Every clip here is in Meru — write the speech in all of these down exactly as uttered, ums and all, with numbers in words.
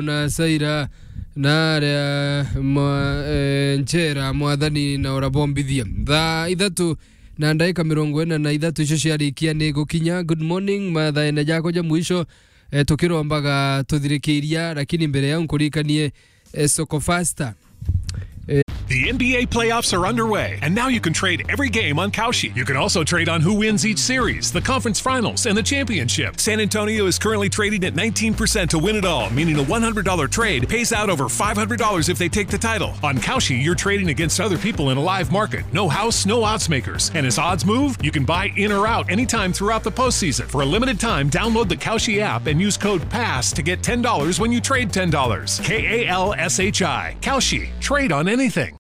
na Saira na aria mwa-, eh, Njera, Mwathani na urabombithia. Thaa ithatu na ndaika mirongo ina na ithatu icio ciarikia ni gukinya. Good morning, mathaene jakwa ja mwisho, eh, tukirombaga tuthirikiria, lakini mbere yau nkurikanie, eh, Soko Faster. Eh. The N B A playoffs are underway, and now you can trade every game on Kalshi. You can also trade on who wins each series, the conference finals, and the championship. San Antonio is currently trading at nineteen percent to win it all, meaning a one hundred dollar trade pays out over five hundred dollars if they take the title. On Kalshi, you're trading against other people in a live market. No house, no odds makers. And as odds move, you can buy in or out anytime throughout the postseason. For a limited time, download the Kalshi app and use code pass to get ten dollars when you trade ten dollars. K A L S H I. Kalshi. Trade on anything.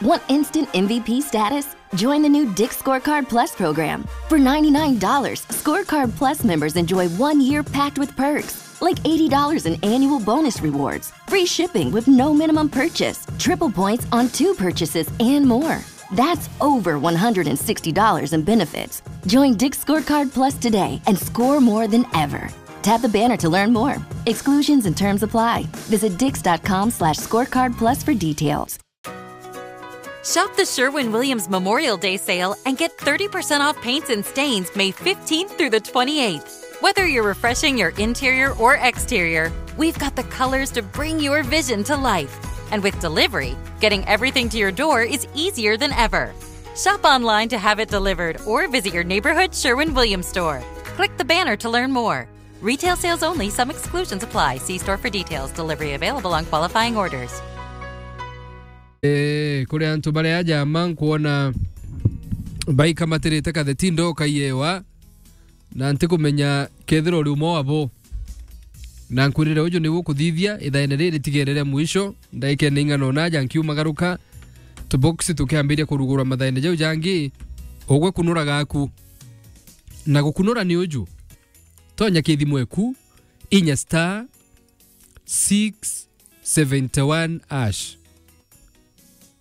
Want instant M V P status? Join the new Dick's Scorecard Plus program. For ninety-nine dollars, Scorecard Plus members enjoy one year packed with perks, like eighty dollars in annual bonus rewards, free shipping with no minimum purchase, triple points on two purchases, and more. That's over one hundred sixty dollars in benefits. Join Dick's Scorecard Plus today and score more than ever. Tap the banner to learn more. Exclusions and terms apply. Visit dicks dot com slash scorecard plus for details. Shop the Sherwin-Williams Memorial Day sale and get thirty percent off paints and stains May fifteenth through the twenty-eighth. Whether you're refreshing your interior or exterior, we've got the colors to bring your vision to life. And with delivery, getting everything to your door is easier than ever. Shop online to have it delivered or visit your neighborhood Sherwin-Williams store. Click the banner to learn more. Retail sales only, some exclusions apply. See store for details. Delivery available on qualifying orders. Eh, kuri antu baria aja ma nkwona baikamatirite katheti ndoka iewa, na ntikumenya kethira uri umwe wabo. Na nkwirire uju niwe ukuthithia ithaene riri tigerere mwisho, ndaikene ing'ana ona aja nkiumagaruka, tuboksi tukiambiria kurugurwa mathaene jau jangi, ugwe kunura gaku. Na gukunura ni uju, tonya kithimu eku, inya star six seventy one hash.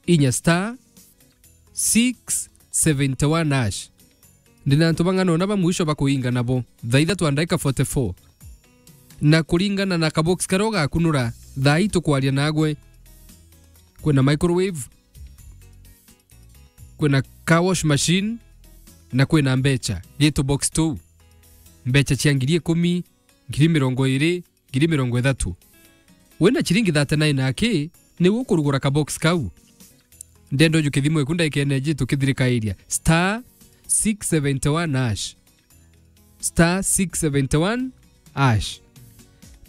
Inya star six seventy one hash. Ndina antu bang'ana ona ba mwisho bakuinga nabo. Thaa ithatu na ndaika forty four. Na kuringana na kabox karia ugakunura, thaa ii tukwaria nagwe, kwina microwave, kwina car wash machine, na kwina mbecha. Gitu box tu. Mbecha cia ngiri ikumi, ngiri mirongo iri, ngiri mirongo ithatu. Wina chiringi thirty nine aki, niwe ukurugura kabox kau. Ndenda uju kithimu eku ndaikene ji tukithirikairia. Star six seventy one hash. Star six seventy one hash.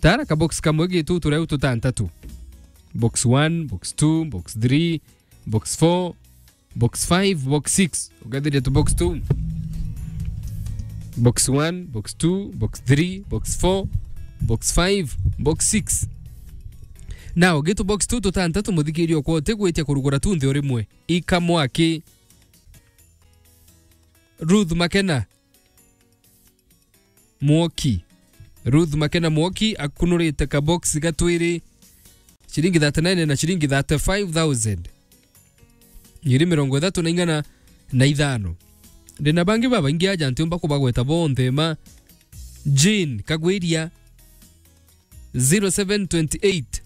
Tara kabox kamwe gitu turia tutantatu. Box one, box two, box three, box four, box five, box six. Ugathiria tu box two. Box one, box two, box three, box four, box five, box six. Now, gitu box two tutantatu, muthikiri okwa utigwitia kurugura tu nthi o rimwe. Ika mwaki. Ruth Makena Mwoki. Ruth Makena Mwoki akunurite kabox gatwiri, chiringi thirty nine na chiringi thirty five thousand. Ngiri mirongo ithatu na ing'ana na ithano. Ndina bangi babaingi aja ntiumba kubagweta bonthe ma. Jane Kagwiria, zero seven twenty eight,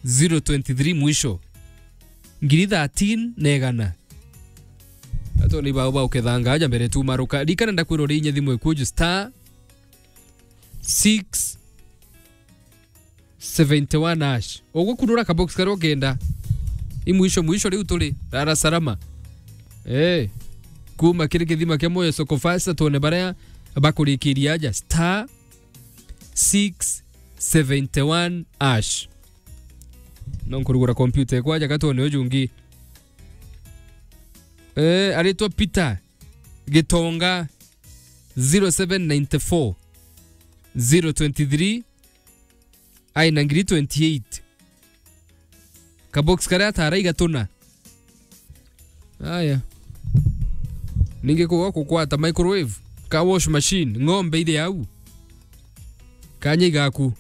zero twenty three mwisho. Ngiri thirteen na igana. Atoni bao bao kethanga aja mbere tu maruka. Rikana ndakwira uri inya thimu eku uju star six seventy one hash. Ugukunura kabox karia ukenda. I mwisho mwisho riu turi. Rara salama. Eh. Kuma kiri kithima kia Moyo Soko Fasta tuone baria bakurikiria aja. Star six seventy one hash. No nkurugura kompyuta ekwa aja gatwone uju ungi. Eh, aritwa Peter Gitonga, zero seven nine four, zero twenty three, ai na ngiri twenty eight. Kabox karia atara igatuna. Aya. Ningi kuga kukwata microwave, car wash machine, ng'ombe iri au. Kanya igaku.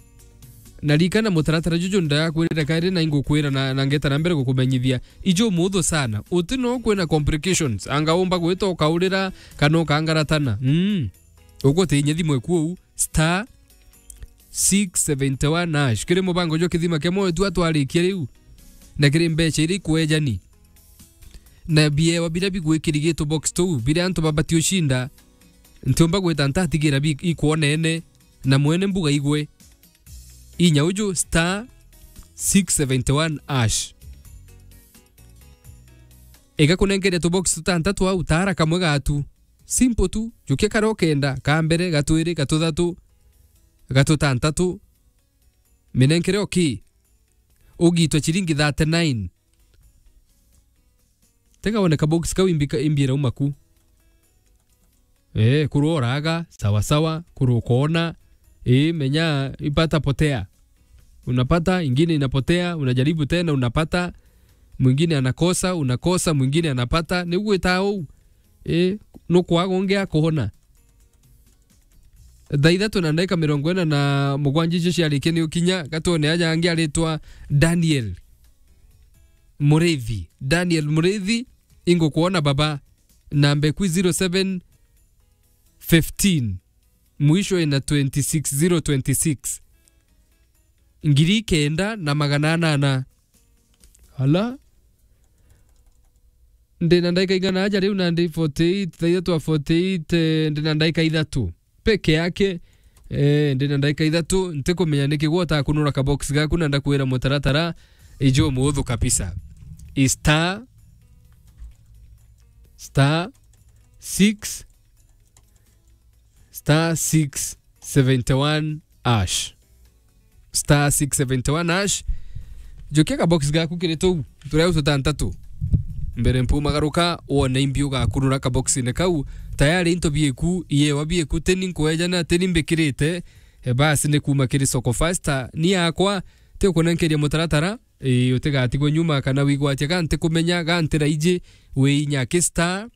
Na rikana mutaratara juju ndakwirire kairi na ingukwira na, na ngeta na mbere gukumenyithia. Iju muthu sana. Uti no kwina complications. Anga umba gwita ukaurira kana ukangaratana. Mm. Uguo ti inya thimu eku uu. Star six seventy one hash. Kiri mubango jwa kithima kia moyo tu atwarikia riu. Na kiri mbeca iria ikwejani. Na biewa biria bigwikirigitwo box tuu, biria antu babati ushinda, ntiumba gwita ntatigira bi-, ikwonene, na mwene mbuga igwe. Inya uju star six seventy one hash. Igakunenkeria tubox tutantatu au, tara kamwe gatu. Simple tu, jukia karia ukenda, ka mbere, ga twiri, ga tuthatu, ga tutantatu. Minenkere oki. Ugitwe chiringi thirty nine. Tega wone kabox kau imbika-, imbi irauma ku. Eh, kurwa uraga, sawa sawa, kurwa ukoona. Eh, menya ipata potea. Unapata, ingine inapotea, unajaribu tena, unapata, mwingine anakosa, unakosa, mwingine anapata. Ni gwita uu. Eh, nukwaga ungi akuhona. Thaa ithatu na ndagika mirongo ina na mugwanja icio ciarikia ni ukinya, gatwone aja angi aritwa Daniel Murithi. Daniel Murithi, ingukwona baba, namba eku zero seven fifteen, mwisho ina twenty six, zero twenty six. Ngiri kenda na magana anana. Ala? Ndina ndaika igana aja riu na ndi forty eight, thaa ithatu wa forty eight, eh, ndina ndaika ithatu peke yake. Eh, ndina ndaika ithatu, ntikumenya niki gwota kunura kabox gaku na ndakwira mutaratara ijo muhuthu kabisa. I star, star six, star six seventy one hash. Star six seventy one hash. Jukia kabox gaku kiri tuu, turia tutantatu. Mbere mpumagaruka, wone imbi ugakurura kaboxine kau. Tayari into bieku, iewa bieku, teni nkwejana, teni mbikirite. E basi ni kuma kiri Soko Faster. Ni yakwa, ti ukunenkeria mutaratara. Ii, utigatigwe nyuma kana wigwatia ga ntikumenya, ga ntiraiji, wi inya ki star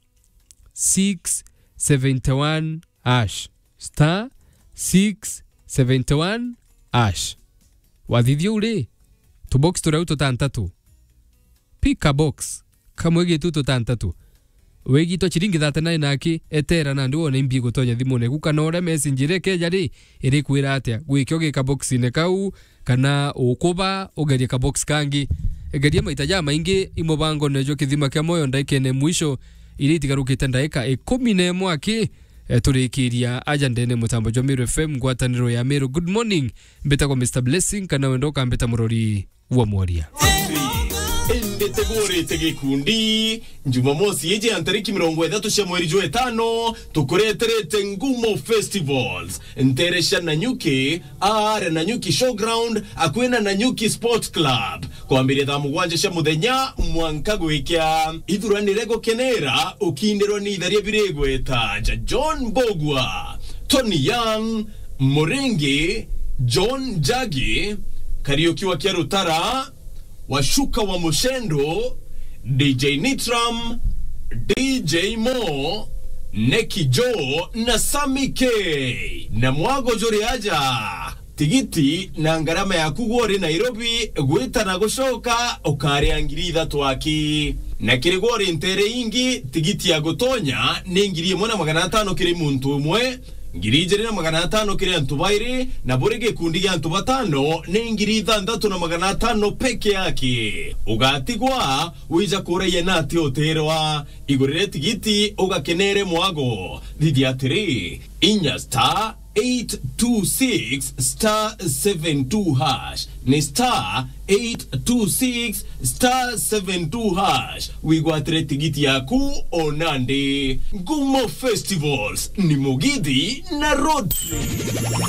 six seventy one hash. Star six seventy one hash. Wathithia uri, tubox turia tutantatu. Pick a box, kamwe gitu tutantatu. Wigitwa chiringi thirty nine aki, etera nandi wone imbi gutonya thimune eku kana uria message iria ikeja ri, irikwira atia. Gwikio gi kaboxine kau, kana ukuba ugerie kabox kangi. Geria maita jamaingi imubangone jwa kithima kia moyo ndaikene mwisho, iria itigarukite ndaika ikumi na imwe aki, eh, turikiria aja ndene mutambo jwa Meru F M, ngwataniro ya Meru. Good morning, mbitagwa Mister Blessing, kana wenda ukambita murori wa mworia. Indi tegurite gikundi, Jumamosi iji ya ntariki mirongo ithatu cia mweri jwa itano, tukureterete Ngumo Festivals, ntere cia Nanyuki, aare Nanyuki Showground, akui na Nanyuki Sport Club, kwambiria thaa mugwanja cia muthenya mwanka gwikia. Ithuranire gukenera ukindirwa ni itharia birigweta ja John Mbugua, Tony Young, Muringi, John Njagi, Kariuki wa Kiarutara, Washuka wa Mushendo, D J Nitram, D J Mo, Neki Joe na Sammy K. Na mwago juri aja, tigiti na ngarama yaku gwe uri Nairobi gwita na gucoka ukaria ngiri ithatu aki. Na kiri gwe uri ntere ingi, tigiti ya gutonya ni ngiri imwe na magana atano kiri muntu umwe, ngiri ijiri na magana atano kiri antu bairi, na buri gikundi gia antu batano ni ngiri ithanthatu na magana atano peke yake. Ugatigwa wija kuraia na ati utirwa. Igurire tigiti ugakenere mwago. Thithia atiri, inya star eight two six star seven two hash. Ni star eight two six star seven two hash. Wigwatire tigiti yaku o nandi. Ngumo Festivals ni Mugithi na Rotary.